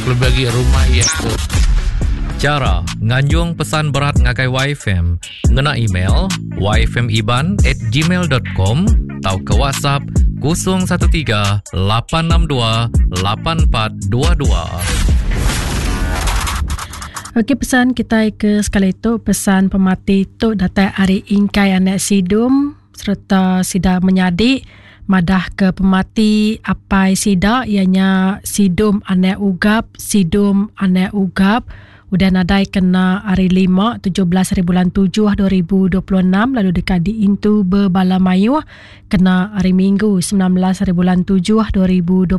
Kelebih agi rumah iya ke. Chara nganjung pesan berat ngagai YFM ngena email yfmiban at gmail dot com tauka WhatsApp 013 862 8422. Okey pesan kitai ke sekali tu pesan pemati tu datai ari Ingkai anak Sidum sereta sida menyadi madah ke pemati apai sida iya nya Sidum anak Ugap Sidum anak Ugap udah nadai kena hari Lima 17 hari bulan 7 2026 lalu deka diintu bebala mayuh kena hari Minggu 19 hari bulan 7 2026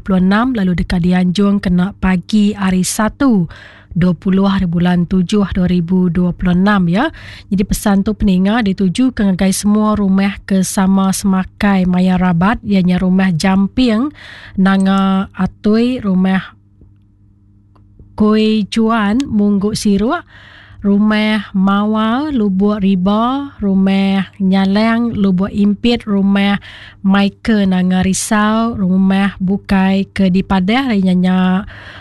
lalu deka dianjung kena pagi hari Satu 20 hari bulan 7 2026 ya. Jadi pesan tu peninga dituju ke ngagai semua rumah ke sama semakai maya rabat ianya rumah Jamping Nanga Atui rumah Koi Chuan Munggu Siruk, Rumah Mawar Lubuk Riba, Rumah Nyalang Lubuk Impit, Rumah Michael Nanga Risau, Rumah bukai ke dipadah ari nya nya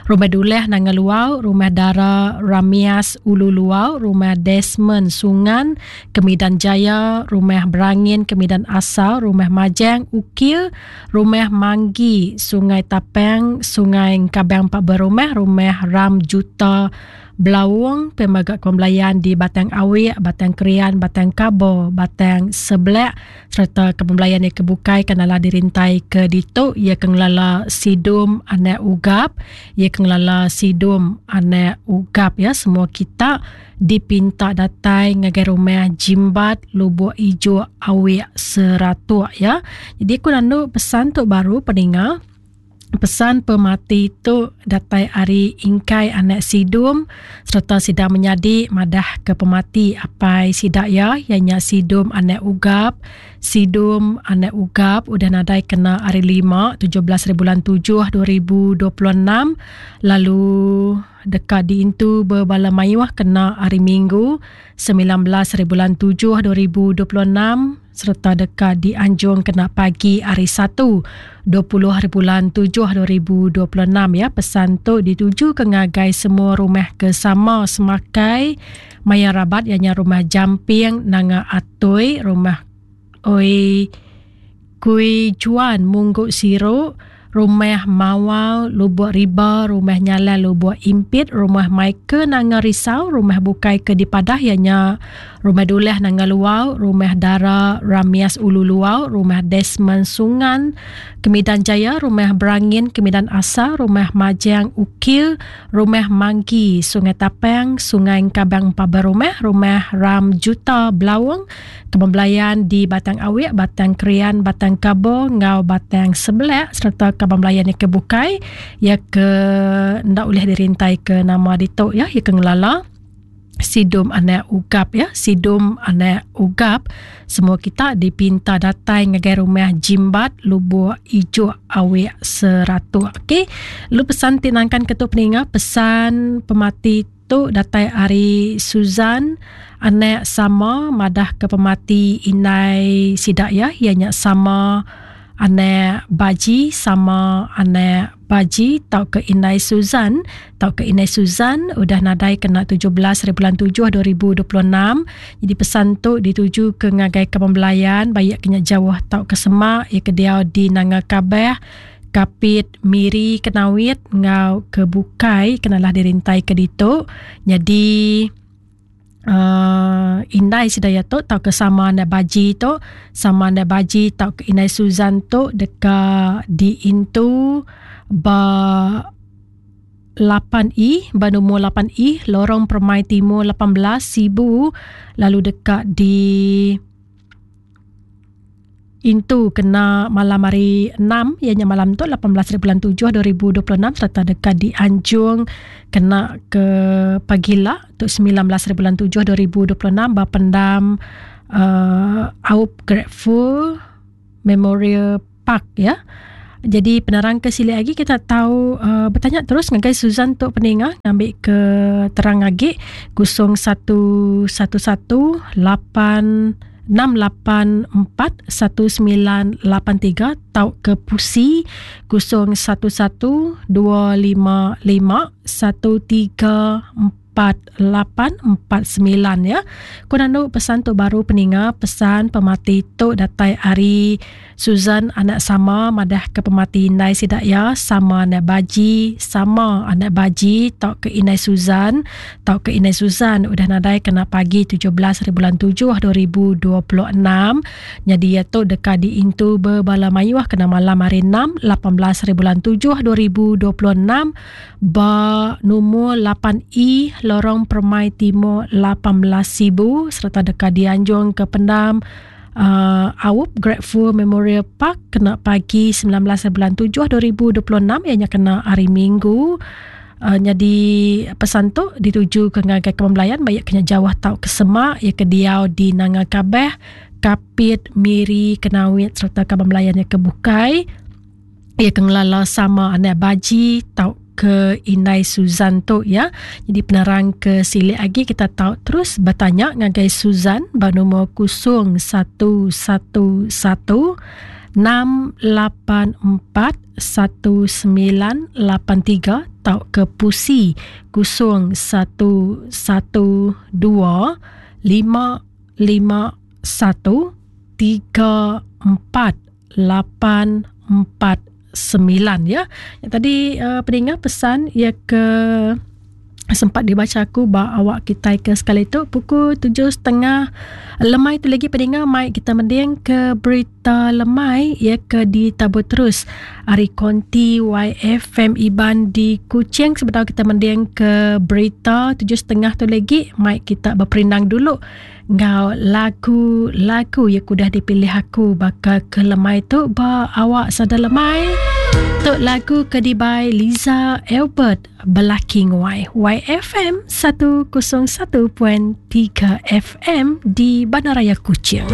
Rumah Duleh Nanga Luau, Rumah Dara Ramias Ulu Luau, Rumah Desmond Sungan Kemidan Jaya, Rumah Berangin Kemidan Asal, Rumah Majang Ukir, Rumah Manggi, Sungai Tapang, Sungai Engkabang Pak Berumah, Rumah Ram Juta Belaung, Pemaga Kebelayan di Batang Awik, Batang Krian, Batang Kabo, Batang Seblek sereta kebelayan iya ke bukai ke nala dirintai ke ditu iya ke ngelala Sidum anak Ugap, iya ke ngelala Sidum anak Ugap ya semua kita dipinta datai ngagai rumah Jimbat Lubuk Ijuk Awik Seratuk ya. Jadi aku nandu pesan tu baru peninga. Pesan pemati tu datai ari Ingkai anak Sidum sereta sida menyadi madah ke pemati apai sida iya iya nya Sidum anak Ugap. Sidum anak Ugap udah nadai kena hari Lima 17 hari bulan 7 2026 lalu deka diintu bebala mayuh kena Hari Minggu, 19 haribulan 7 2026 sereta deka dianjung kena pagi Hari Satu, 20 haribulan 7 2026 ya. Pesan tu ditujuka ngagai semua rumah ke sama semakai maya rabat iya nya Rumah Jamping Nanga Atoi, Rumah Oi Kui Chuan Munggu Siru, Rumah Mawar Lubuk Riba, Rumah Nyalai Lubuk Impit, Rumah Michael Nanga Risau, Rumah bukai ke dipadah iya nya Rumah Duleh Nanga Luau, Rumah Dara Ramias Ulu Luau, Rumah Desmond Sungan, Kemidan Jaya, Rumah Berangin Kemidan Asa, Rumah Majang Ukil, Rumah Manggi Sungai Tapang, Sungai Engkabang Empa Berumah, Rumah Ram Juta Belaung, Kebun Belayan di Batang Awik, Batang Krian, Batang Kabo enggau Batang Sebelak sereta kaban belayan iya ke bukai iya ke enda ulih dirintai ke nama ditu iya iya ke ngelala Sidum anak Ugap ya Sidum anak Ugap semua kita dipinta datai ngagai rumah Jimbat Lubuk Ijuk Awik Seratuk okey lu pesan ti nangkan ke tu peninga pesan pemati Tu datai ari Susan, anak sama madah ke pemati indai sida iya, iya nya sama anak Baji sama anak Baji tauka indai Susan tauka indai Susan udah nadai kena 17 hari bulan 7 2026. Jadi pesan tu dituju ke ngagai kaban belayan baik ke nya jauh tauka semak iya ke diau di Nanga Kabah Kapit, Miri, Kenawit enggau ke bukai ke nalah dirintai ke ditu. Nyadi uh, indai sida iya tu tauka sama anda baji tu, sama anda baji tauka indai Susan tu deka diintu ba 8E ba nombor 8E Lorong Permai Timur 18 Sibu lalu deka di Intu kena malam hari enam iya nya malam tu 18 hari bulan 7 2026 sereta deka dianjung kena ke pagila tu 19 hari bulan 7 2026 ba pendam uh, Aup Grateful Memorial Park ya. Jadi penerang ke silik lagi kita tahu uh, bertanya terus ngagai Susan tu peninga ngambil ke terang lagi 0111 8 684 1983 tauka pusi 011 255 13 4849 ya. Ku nandu pesan tu baru peninga pesan pemati tu datai ari Susan anak sama madah ke pemati indai sida iya sama anak baji sama anak baji tauka indai Susan tauka indai Susan udah nadai kena pagi 17 hari bulan 7 2026 nyadi iya tu deka diintu bebala mayuh kena malam hari 6 18 hari bulan 7 2026 ba numur 8E Lorong Permai Timur 18 Sibu sereta deka dianjung ke pendam uh, Aup Grateful Memorial Park kena pagi 19 bulan 7 2026 ianya kena hari Minggu. Uh, nyadi pesan tu dituju ke ngagai kemelayan baik kena jauh tau ke semak ia ke diau di Nanga Kabeh, Kapit, Miri, Kenawit serta kaban belayan ia ke bukai. Ia ke ngelala sama anak baji tau ke indai Suzan tu ya. Jadi penerang ke silik agi kita tau terus bertanya ngagai Suzan ba nombor 0111 684 1983 tau ke pusi 0112 551 34 8 4 9 ya. Yang tadi uh, peninga pesan ia ke sempat dibaca aku ba awak kita ke sekali tu pukul 7.30 lemai tu lagi peninga mai kita mending ke berita lemai ia ke ditabur terus ari konti YFM Iban di Kuching sebedau kita mending ke berita 7.30 tu lagi mai kita berperindang dulu Enggau lagu-lagu ya udah dipilih aku baka ke lemai tu ba awak sada lemai. Tu lagu ke dibai Liza Albert Belaki Nguai YFM 101.3 FM di Bandaraya Kuching.